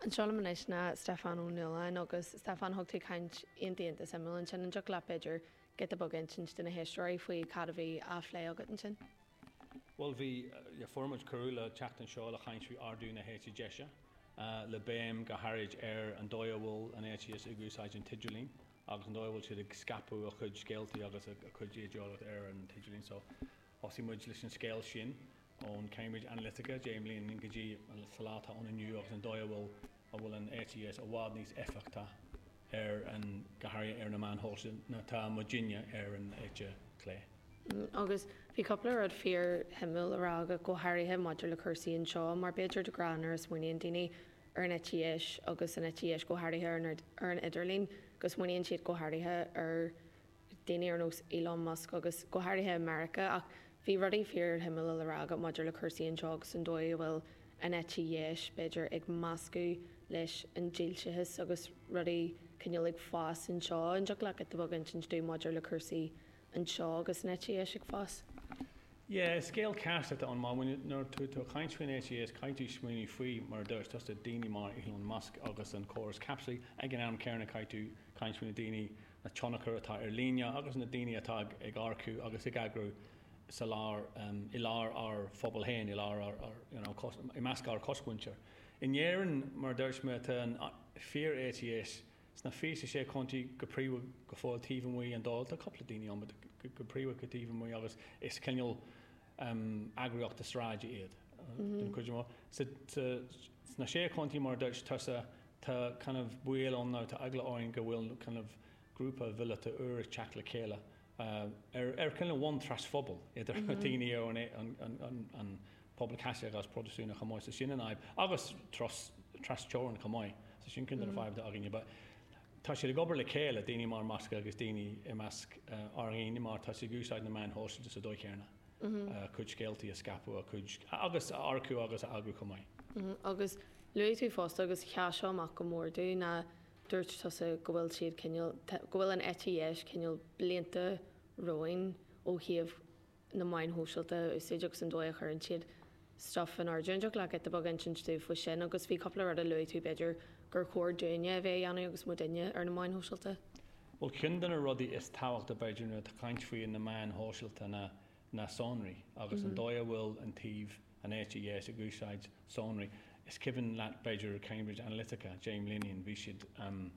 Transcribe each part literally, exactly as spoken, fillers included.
Anseo liom anois ná Stiofán Ó Nualláin agus Stiofán thug tú caint iontach iontach suimiúil ansin an dtiocfadh leat b'fhéidir giota beag a insint do na héisteoirí faoi cad a bhí á phlé agat ansin. Bhuel bhí fuair muid cuireadh le teacht anseo le caint faoi ardú na heite deise, le béim go háirid ar an dóigh a bhfuil an eite dheis ag úsáid an t-idirlíon agus an dóigh a bhfuil siad ag scaipeadh a chuid scéaltaí agus a chuid ídeolaíocht ar an t-idirlíon. So thosaigh muid leis an scéal sin ón Cambridge Analytica deich mbliana go dtí sa lá atá ann inniu agus an dóigh a bhfuil a bhfuil an eite dheis i bhfad níos éifeachtaí ar an go háirithe ar na meáin shóisialta ná tá muidinne ar an eite chlé. Agus bhí cúpla rud fíorshuimiúil a rá agat go háirithe maidir le cúrsaí anseo mar b'fhéidir de ghnáth nuair a smaoiníonn daoine ar an eite dheis agus an eite dheis go háirithe ar an ar an idirlíon go smaoiníonn siad go háirithe ar daoine ar nós Elon Musk agus go háirithe i Meiriceá ach bhí rudaí fíorshuimiúla le rá agat maidir le cúrsaí anseo agus an dóigh a bhfuil an eite dheis b'fhéidir ag meascadh leis an dílseachas agus rudaí cineál ag fás anseo an dtiocfadh leat giota beag a insint dúinn maidir le cúrsaí anseo agus an eite dheis ag fás. Yeah, is scéal casta atá ann mar nuair tú tú ag caint faoin eite dheis caithfidh tú smaoineamh faoi mar a dúirt tusa daoine mar Elon Musk agus an córas caipitlí ag an am céanna caithfidh tú caint faoi na daoine na tionchar atá ar líne agus na daoine atá ag ag earcú agus ag eagrú sa lár um, i lár ár phobal féin i lár ár, ár, you know, cos, i measc ár cosmhuintir. In Éirinn mar dúirt mé tá an fíor eite dheis sna fiche sé chontae go príomha go fóill taobh amuigh an Dáil tá cúpla daoine ann go go príomha go taobh amuigh agus is cineál um, eagraíochta sráide iad den chuid mó. Sna sé chontae mar dúirt tusa tá kind of baol ann nó tá eagla orainn go bhfuil kind of grúpa míleata úr ag teacht le chéile uh, ar ar cineál bhonn trasphobal idir mm -hmm. daoine ó an, an, an, an, an pobal Caitliceach agus Protastúnach chomh maith so sin an fhadhb agus tras trasteorann chomh maith so sin ceann de na fadhbanna againne but tá siad ag obair le chéile daoine mar Musk agus daoine i measc uh, ár ndaoine mar tá siad ag úsáid na meáin shóisialta sa dóigh chéanna. Mm -hmm. uh, cuid scéaltaí a scaipeadh a cuid agus a earcú agus a eagrú chomh maith. Mm -hmm. Agus luaigh tú fosta agus sheas seo amach go mór dúinn ná dúirt tusa go bhfuil siad cineál go bhfuil an eite dheis cineál blianta romhainn ó thaobh na meáin shóisialta a úsáid agus an dóigh a chuireann siad stuff in airde. An dtiocfadh leat giota beag a insint dúinn faoi sin agus bhí cúpla rud a luaigh tú b'fhéidir gur chóir dúinne a bheith a dhéanamh agus muidinne ar na meáin shóisialta. Well ceann de na rudaí is tábhachtaí b'fhéidir nuair atá caint faoi na meáin shóisialta na na sonraí agus mm -hmm. an dóigh a bhfuil an taobh an eite dheis ag úsáid sonraí. Is cuimhin leat b'fhéidir Cambridge Analytica, James Linian, bhí siad um,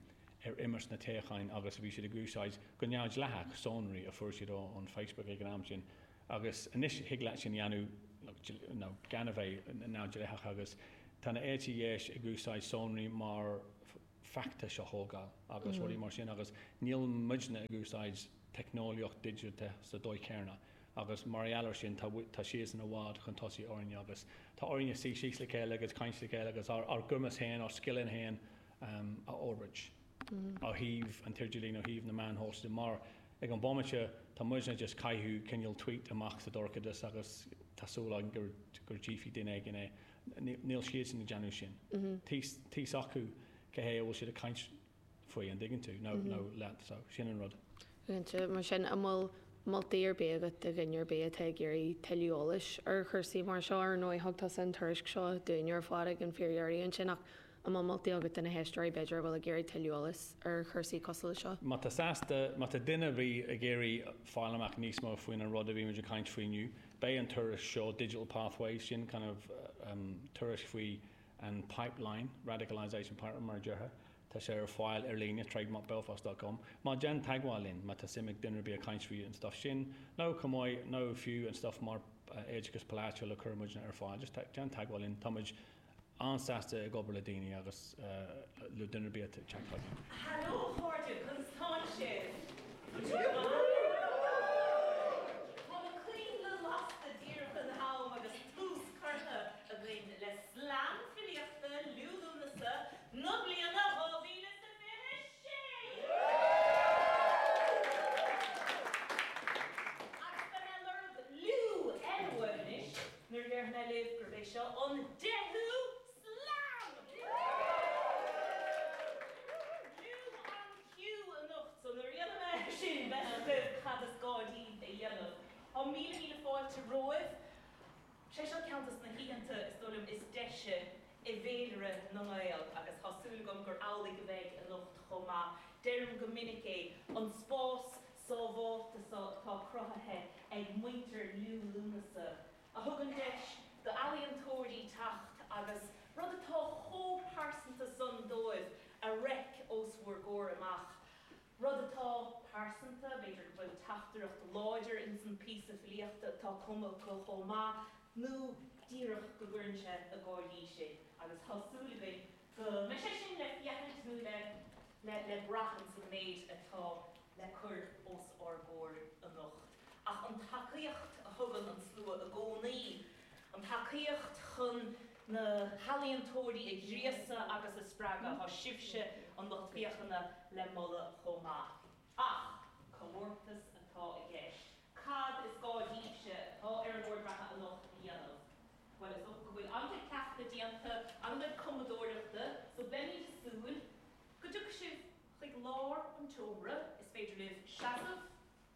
ar imirt na toghcháin agus bhí siad ag úsáid go neamhdhleathach sonraí a fuair siad ón Facebook ag an am sin. Agus anois thig leat sin a dhéanamh nó gan a bheith neamhdhleathach agus tá na eite dheis ag úsáid sonraí mar feachtais a thógáil agus rudaí mar sin agus níl muidne ag úsáid teicneolaíocht digiteach sa dóigh chéanna. agus mar gheall air sin tá tá siadsan i bhfad chun tosaigh orainne agus tá orainne suí síos le chéile agus caint le chéile agus ár, ár gcumas féin ár scileanna féin um, a fhorbairt. Mm. Ó thaobh an t-idirlíon ó thaobh na meáin shóisialta mar ag an bomaite tá muidne just caitheamh cineál tweet amach sa dorchadas agus tá súil againn gur gur tchífidh duine éigin é. Níl siadsan ag déanamh sin. Tá acu cé hé a bhfuil siad ag caint faoi an dtuigeann tú nó nó leat so sin an rud. Cinnte mar sin an bhfuil moltaí ar bith agat do dhuine ar bith atá ag iarraidh tuilleadh eolais ar chúrsaí mar seo ar ndóigh thug tusa an tuairisc seo dúinn ar fad ag an fíordheireadh ansin ach an bhfuil moltaí agat do na héisteoirí b'fhéidir a bhfuil ag iarraidh tuilleadh eolais ar chúrsaí cosúil leis seo. Má tá sásta má tá duine a bhí ag iarraidh fáil amach níos mó faoin an rud a bhí muid ag caint faoi inniu, beidh an tuairisc seo Digital Pathways sin kind of um, tuairisc faoi an pipeline radicalization pipeline mar a déarfá. Tá sé ar fáil ar líne trademarkbelfast.com. Má déan teagmháil linn má tá suim ag duine ar bith ag caint faoi an stuff sin, nó chomh maith nó fiú an stuff mar oideachas polaitiúil a chuir muid ar fáil, just déan teagmháil linn Tá muid an-sásta ag obair le daoine agus le duine ar bith teagmháil linn. Hello a chairde conas tá sibh. Tá na coinnle lasta díreach in am agus tús curtha againn le slam filíochta Liú Lúnasa na bliana dhá mhíle sa fiche sé. Agus beidh mé ag lorg liú eile uaibh anois nuair a déarfaidh mé libh gurb é seo an deichiú slam! Liú an Q anocht, so nuair a dhéanfaidh mé sin beidh agaibh cad is gá daoibh a dhéanamh. Tá míle míle fáilte romhaibh. Sé seo ceann de na hoícheanta is dóigh liom is deise i bhféilire na nGael agus tá súil agam gur amhlaidh a bheidh anocht chomh maith. Deirim go minic é, an spás sábháilte seo atá cruthaithe ag muintir Liú Lúnasa, a thugann deis d'ealaíontóirí teacht agus rud atá chomh pearsanta san dóibh a reic os bhur gcomhair amach. Rud atá pearsanta, b'fhéidir go bhfuil teachtaireacht láidir ins an píosa filíochta atá cumtha acu chomh maith, nó díreach go gcuireann sé ag gáirí sinn agus tá súil againn go mbeidh sé sin le féachaint nó le le le brath ins an méid atá le cur os ár gcomhair anocht. Ach an tacaíocht a thugann an slua i gcónaí, an tacaíocht chun na healaíontóirí a ghríosadh agus a spreagadh, tá sibhse, an lucht féachana, le moladh chomh maith. Ach comórtas atá i gceist. Cad is gá daoibhse atá ar an Bord Reatha anocht a dhéanamh? Bhuel, is dócha go bhfuil an-chuid cleachtaidh déanta, an-chuid cumadóireachta, so beimid ag súil go dtiocfaidh sibh chuig lár an tseomra. Is féidir libh seasamh,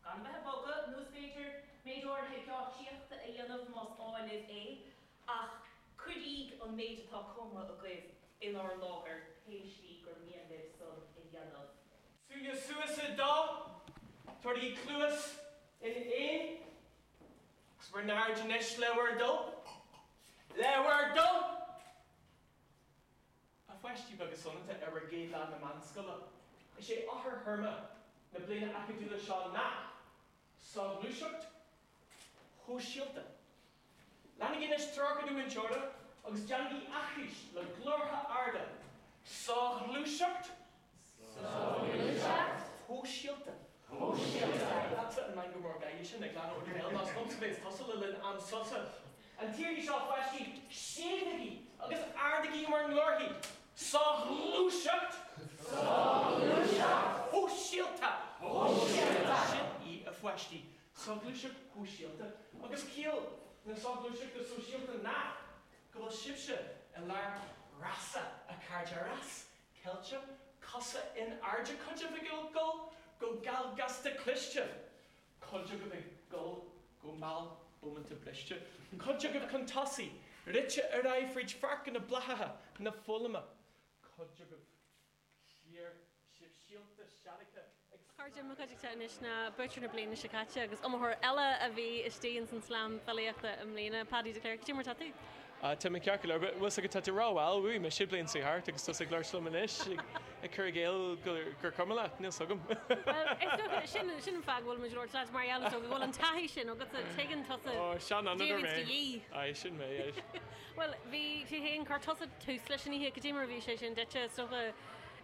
gan a bheith ag bogadh, nó is féidir méid áirithe geáitsíochta a dhéanamh más áil libh é, ach cuiríg an méid atá cumtha agaibh inár láthair, pé slí gur mian libh san a dhéanamh. Súile suas sa dá, tabhairígí cluas in aon, agus bhur n-aird anois le bhur dtoil, le bhur dtoil! A pháistí beaga soineanta ar bhur gcéad lá na meánscoile, is é eochairthéarma na bliana acadúla seo ná, Soghluaiseacht Shóisialta. Leanaigí anois treoracha do mhúinteora agus déanaigí aithris le glórtha arda, Soghluaiseacht Soghluaiseacht Shóisialta Shóisialta. Leatsa an meangadh mór gáire sin ag glanadh ó do bhéal, más liomsa bhéas tusa le linn am sosa. An t-iarraidh seo, a pháistí, séimhígí agus ardaígí bhur nglórthaí, Soghluaiseacht Soghluaiseacht Shóisialta Shóisialta. Sin í, a pháistí, soghluaiseacht shóisialta. Agus ciall na soghluaiseachta sóisialta ná go bhfuil sibhse i lár rása, a chairde, rás ceilte, cosa in airde, cuid agaibh ag dul go geal gasta cliste, cuid agaibh ag dul go mall bómánta briste, cuid agaibh chun tosaigh, rite ar aghaidh fríd pháirceanna bláthaithe na foghlama, cuid agaibh siar, sibh síolta seargtha ag A chairde, mo chuideachta anois ná buaiteoir na bliana seo caite agus iomaitheoir eile a bhí istigh ins an Slam Filíochta i mbliana, Paddy de Cléir. Cad é mar tá tú? Tá mé ceart go leor, but bhfuil 's agat tá tú rómhall, bhuaigh mise bliain seo thart agus tusa ag labhairt liom anois ag cur i gcéill gur cuma leat, níl 's agam. Bhuel, is dócha, sin sin an fáth go bhfuil muid ag labhairt leat, mar gheall is dócha go bhfuil an taithí sin agatsa, tuigeann tusa Ó, seanfhondúir cad a mé. bhíonns de dhíth. Aye, sin mé, aye. Bhuel, bhí tú féin, chuir tusa tús leis an oíche, cad é mar a bhí sé sin duitse, is dócha,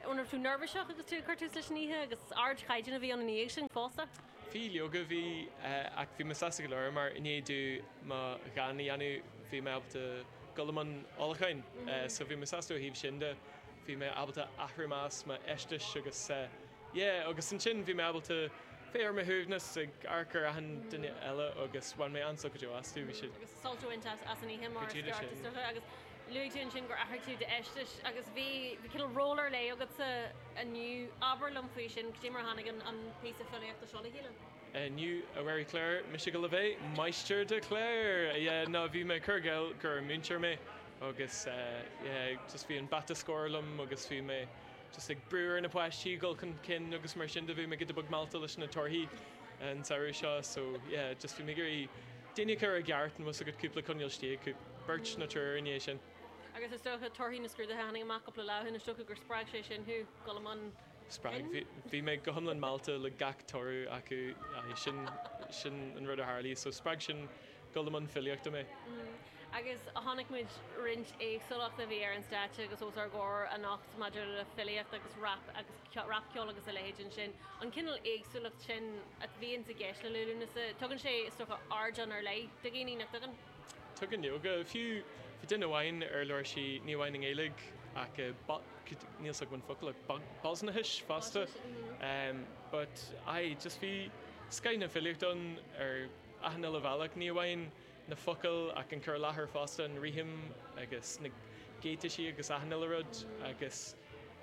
an raibh tú neirbhíseach agus tú ag cur tús leis an oíche agus ardchaighdeán a bhí ann ina dhiaidh sin fosta? Bhí, leoga bhí, ach bhí mé sásta go leor mar i ndiaidh domh mo dhán a dhéanamh bhí mé ábalta dul i mbun ullmhúcháin so bhí mé sásta ó thaobh sin de, bhí mé ábalta athrú amach m'fheistis agus yeah agus ansin bhí mé ábalta bheith ar mo shuaimhneas ag amharc ar achan duine eile agus bhain mé an-sult go deo astu, bhí siad. Agus sult a bhaint as an oíche Go mar is díreach ceart is sin. dócha agus luaigh tú ansin gur athraigh tú d'fheisteas agus bhí bhí cineál ról ar leith agatsa inniu. Abair liom faoi sin, cad é mar a tháinig an an píosa filíochta seo le chéile? Inniu, a Mhary Claire, mise ag dul a bheith Máistir de Claire! Yeah, no, bhí mé ag cur i gcéill gur múinteoir mé agus yeah, just bhí an bata scóir liom agus bhí mé just ag brú ar na páistí dul chun cinn agus mar sin de bhí mé giota beag meallta leis na torthaí an samhradh seo so yeah, just bhí mé ag iarraidh daoine a chur i gceart an bhfuil 's agat cúpla coinneal istigh, beirt nó triúr i ndiaidh sin. Agus is dócha torthaí na scrúduithe a tháinig amach cúpla lá ó shin, is dócha gur spreag sé sin thú dul i mbun Spreag, pinn? bhí mé go hiomlán meallta le gach toradh acu, aye, sin, sin an rud a tharlaigh, so spreag sin dul i mbun filíochta mé. Agus chonaic muid roinnt éagsúlacht a bhí ar an stáitse agus os ár gcomhair anocht maidir le filíocht agus rap agus rapcheol agus a leithéid ansin. An cineál éagsúlacht sin a bhíonns i gceist le Liú Lúnasa, tugann sé, is dócha, ardán ar leith do dhaoine, nach dtugann? Tugann, leoga. Fiú, bhí duine amháin ar labhair sí ní amháin i nGaeilge ach i, níl 's agam an focal, ach Bosnachais fosta. But aye, just bhí scoth na filíochta ann ar achan uile bhealach, ní amháin na focail ach an cur i láthair fosta, an rithim agus na geataisí agus achan uile rud agus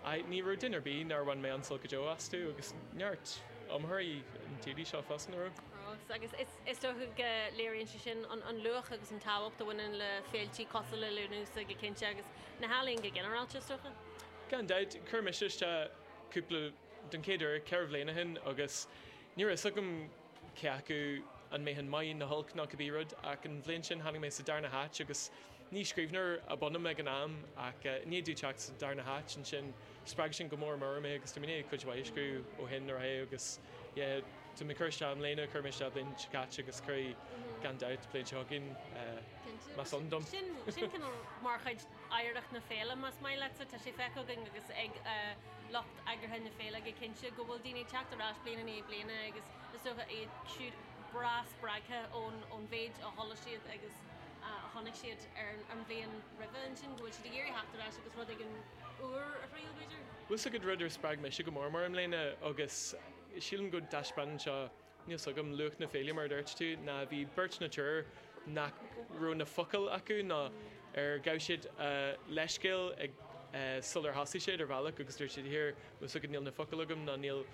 aye, ní raibh duine ar bith nár bhain mé an-sult go deo astu agus neart iomaitheoirí an t-iarraidh seo fosta, nach raibh? fheabhas agus is is dócha go léiríonn sé sin an an luach agus an tábhacht a bhaineann le féiltí cosúil le Lúnasa go cinnte agus na healaíona go ginearálta is dócha. Gan dabht, chuir mise isteach cúpla den chéad uair ceithre bliana ó shin agus ní raibh a fhios agam cé acu an mbeinn maith nó olc nó cibé rud ach an bhliain sin tháinig mé sa darna háit agus ní scríbhneoir ab ionam ag an am ach i ndiaidh domh teacht sa darna háit ansin spreag sin go mór mór mé agus tá mé i ndiaidh cuid mhaith a scríobh ó shin ar aghaidh agus yeah tá mé ag cur isteach i mbliana, chuir mé isteach bliain seo caite agus cuirfidh gan dabht bliain seo chugainn más ann dom. Sin sin cineál mar chuid oidhreacht na féile más maith leatsa, tá sé feicthe againn agus ag lucht eagraithe na féile go cinnte go bhfuil daoine ag teacht ar ais bliain i ndiaidh bliana agus is dócha iad siúd breá spreagtha ón ón mhéid a chuala siad agus a chonaic siad ar an bhliain roimhe ansin, go bhfuil siad ag iarraidh theacht ar ais agus rud éigin úr a thriail, b'fhéidir? Bhfuil 's agat rud ar spreag mise go mór mór i mbliana agus sílim go dtaispeánann seo, níl 's agam, luach na féile mar a dúirt tú, ná bhí beirt nó triúr nach raibh na focail acu nó ar ghabh siad a leithscéal ag sular thosaigh siad ar bhealach agus dúirt siad here, bhfuil 's agat níl na focail agam nó níl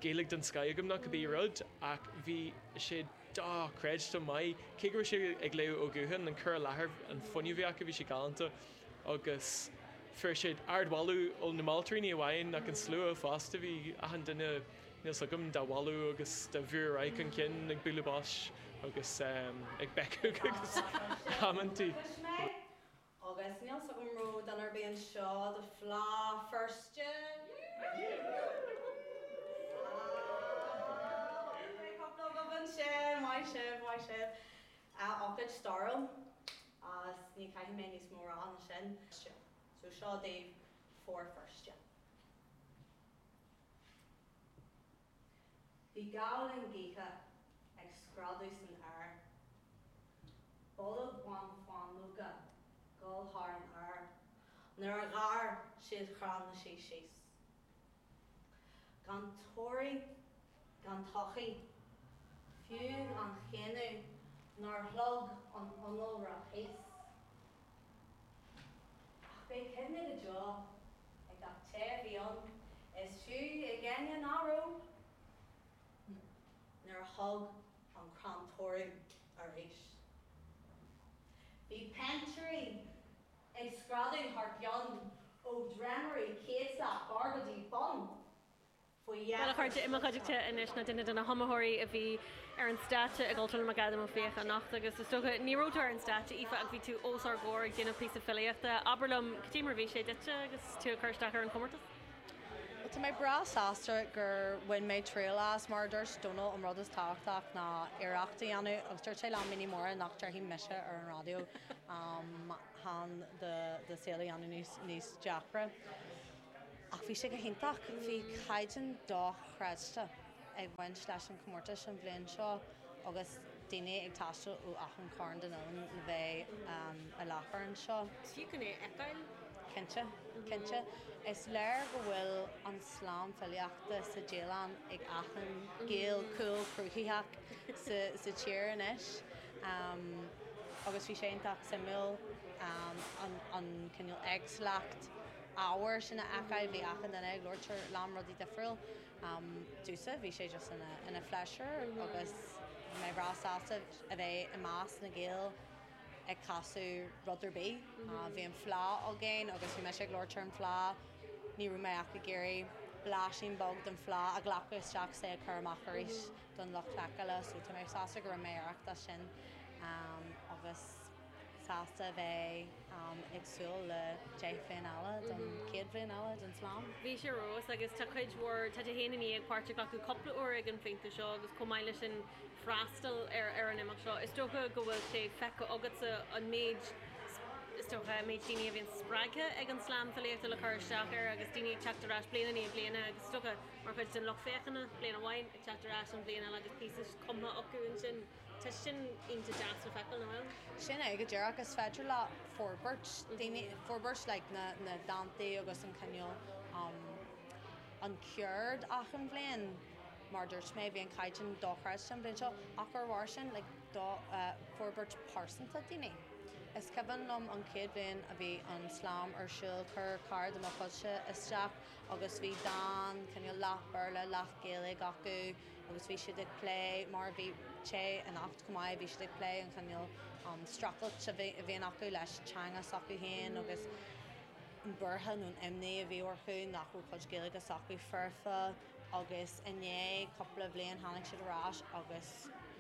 Gaeilge den scoth agam nó cibé rud ach bhí sé dochreidte maith. Cé go raibh sé ag léamh ó ghuthán, an cur i láthair, an fuinneamh a bhí acu, bhí sé galánta agus fuair siad ardmholadh ó na moltóirí ní amháin ach an slua fosta, bhí achan duine, níl 's agam, dá mholadh agus dá bhrú ar aghaidh chun cinn ag bualadh bos agus ag béiceadh agus amantaí. Agus níl 's agam raibh duine ar bith anseo do Fleadh Feirste. Cúpla agaibh ansin, maith sibh, maith sibh. Ócáid stairiúil agus ní chaithfidh mé níos mó a rá ná sin. So seo daoibh Fear Feirste. Bhí gabhlán gaoithe ag screadadh san aer. Bolg bán fáinleoga dul thar an aer nuair a ghearr siad crann na sí síos. Gan toradh, gan todhchaí, fiú gan chéanú nár shlog an t-innealra thíos. Ach beidh cuimhne go deo ag gach té a bhí ann, is fiú ag éinne nach raibh, nuair a thug an crann toradh arís. Bhí péintéirí ag screadadh thar cionn ó dhréimirí céadta barr go dtí bun faoi Bhuel, a dheifir. chairde, i mo chuideachta anois ná duine de na hiomaitheoirí a bhí ar an stáitse i gCultúrlann McAdam Ó Fiaich anocht agus is dócha, ní raibh tú ar an stáitse, Aoife, ach bhí tú os ár gcomhair ag déanamh píosa filíochta. Abair liom, cad é mar a bhí sé duitse agus tú ag cur isteach ar an chomórtas? Bhuel, tá mé breá sásta gur bhain mé triail as. Mar a dúirt Dónal, an rud is tábhachtach ná iarracht a dhéanamh agus dúirt sé liom ní mór nach déarfaidh mise ar an raidió chun do saol a dhéanamh níos níos deacra. Ach bhí sé go hiontach, bhí caighdeán dochreidte ag baint leis an chomórtas an bhliain seo agus daoine ag taisteal ó achan chearn den oileán le bheith i láthair anseo. Is fiú chun é a fheiceáil. Cinnte, cinnte. Is léir go bhfuil an slam filíochta sa dialann ag achan Gael cool cruthaitheach sa sa tír anois. Agus bhí sé iontach suimiúil an an cineál éagsúlacht ábhair sin a fheiceáil, bhí achan duine ag labhairt ar lán rudaí difriúil. Domhsa, bhí sé just ina ina phléisiúr agus bhí mé breá sásta a bheith i measc na Gael ag casadh rud ar bith. Bhí an fleá againn agus bhí mise ag labhairt ar an fleá, ní raibh mé ach ag iarraidh blaisín beag den fleá a ghlacadh isteach is é a chur amach arís don lucht feiceála so tá mé sásta go raibh mé aireach as sin agus sásta a bheith ag súil le deich bhliain eile don chéad bhliain eile den slam. Bhí sé ar fheabhas agus tá cuid mhór, tá tú féin i ndiaidh páirt a ghlacadh cúpla uair ag an phointe seo agus chomh maith leis sin freastal ar ar an imeacht seo. Is dócha go bhfuil sé feicthe agatsa an méid, is dócha, an méid daoine a bhíonn spreagtha ag an slam filíochta le cur isteach air agus daoine ag teacht ar ais bliain i ndiaidh bliana agus is dócha mar chuid den lucht féachana, bliain amháin ag teacht ar ais an bhliain eile agus píosa cumtha acu ansin. Tá sin iontach deas le feiceáil, nach bhfuil? Sin é go díreach, is féidir leat forbairt, daoine, forbairt like na, na dántaí agus an cineál um, an ceird achan bhliain. Mar dúirt mé, bhí an caighdeán dochreidte an bhliain seo ach ar bharr sin like do, uh, forbairt pearsanta daoine. Is cuimhin liom an chéad bhliain a bhí an slam ar siúl chuir cara de mo chuidse isteach agus bhí dán cineál leath Béarla leath Gaeilge acu agus bhí siad ag plé mar bhí sé anocht chomh maith bhí siad ag plé an cineál um, streachailt a bhíonn acu leis teanga s'acu féin agus an buartha nó an imní a bhí orthu nach bhfuil cuid Gaeilge s'acu foirfe agus inné cúpla bliain tháinig siad ar ais agus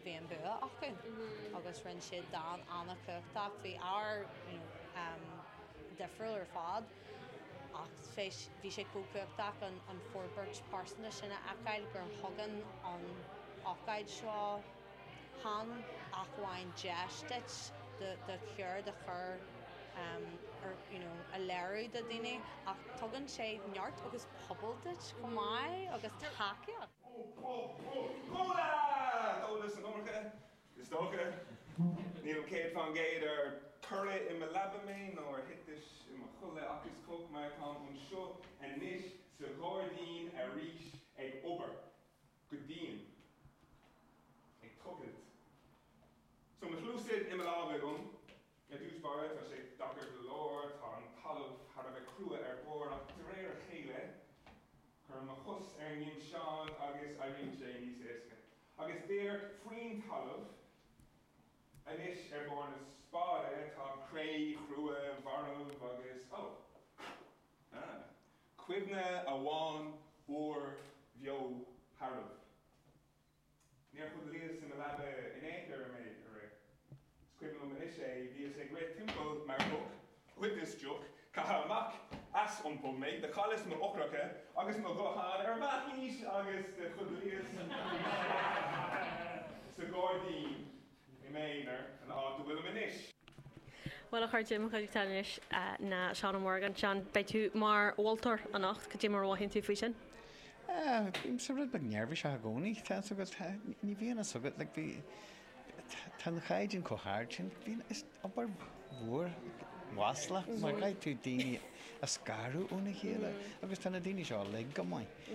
bhí an bua acu agus rinne siad dán an-chumhachtach bhí ár you know, um, difriúil ar fad ach bhí sé cumhachtach an, an forbairt pearsanta sin a fheiceáil gur thugann an ócáid seo chan amháin deis duit do do cheird a chur um, ar, you know, a léiriú do daoine ach tugann sé neart agus pobal duit chomh maith agus tacaíocht. D'ólas an iomarca is dócha Níl céad faoin gcéad ar cuireadh i mo leaba mé nó ar thiteas i mo chodladh ach is cuma mar táim anseo anois sa ghairdín arís ag obair go dian ag tochailt. So mo shluasaid i mo lámh agam ar dtús báire tá sé deacair go leor tá an talamh thar a bheith crua ar bord ach de réir a chéile cuirim mo chos ar an nginseán agus éiríonn sé níos éasca. Agus déir faoin talamh anois ar bord na spáide tá cré chrua mharbh agus ó. Ah. Cuimhne amháin úr bheo shearbh. Níor chodlaíos i mo leaba in aon chor mé aréir. Is cuimhin liom anois é bhíos ag rith timpeall mar mhuc, ghoideas deoch, caitheadh amach as an bpub mé, do chailleas m'eochracha agus mo ghuthán ar m'aithís agus do chodlaíos sa ghairdín i m'aonar an áit a bhfuilim anois. Well a chairde mo chuid anois ná Seán Morgan Seán beidh tú mar mholtóir anocht cad é mar a mhothaíonn tú faoi sin? Bím rud beag neirbhíseach i gcónaí tá ní bhíonn a fhios agat le bhí tá an caighdeán chomh hard sin bhíonn is obair mhór mhaslach mar caithfidh tú daoine a scaradh óna chéile agus tá na daoine seo uilig go maith.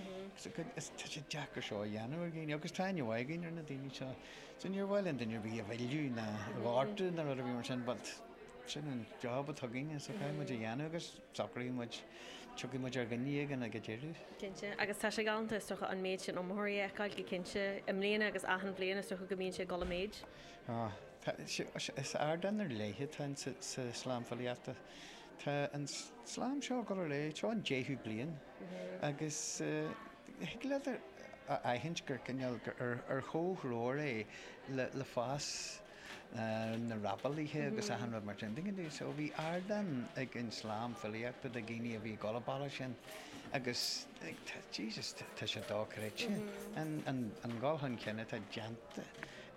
Is tá sé deacair seo a dhéanamh ar dhaoine agus tá aithne againn ar na daoine seo. So níor mhaith linn duine ar bith a mhilleadh ná a ghortú ná rud a bhí mar sin, but sin an job atá againne so caithfidh muid a dhéanamh agus socraíonn muid tiocfaidh muid ar dhuine éigin ag an deireadh. Cinnte, agus tá sé galánta is dócha an méid sin iomaitheoirí a fheiceáil go cinnte i mbliana agus achan bhliain is dócha go mbíonn sé ag dul i méid. Ah, is ardán ar leith atá sa, sa slam filíochta. Tá an slam seo go le seo an deichiú bliain agus thig leat a aithint gur cineál ar ar chomhthreomhar é le, le fás na rapálaithe agus achan rud mar sin. Tuigeann tú, so bhí ardán ag an slam filíochta do dhaoine a bhí ag dul an sin agus Jesus tá sé dochreidte an, an, an dul chun cinn atá déanta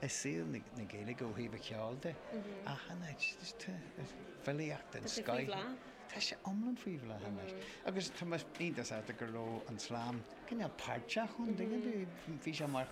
i saol na, na Gaeilge ó thaobh an cheoil de achan áit filíocht an Tá sé faoi scoith. bhláth. Tá sé iomlán faoi bhláth anois. Agus tá iontach sásta go raibh an slam cineál páirteach ann tuigeann tú bhí sé mar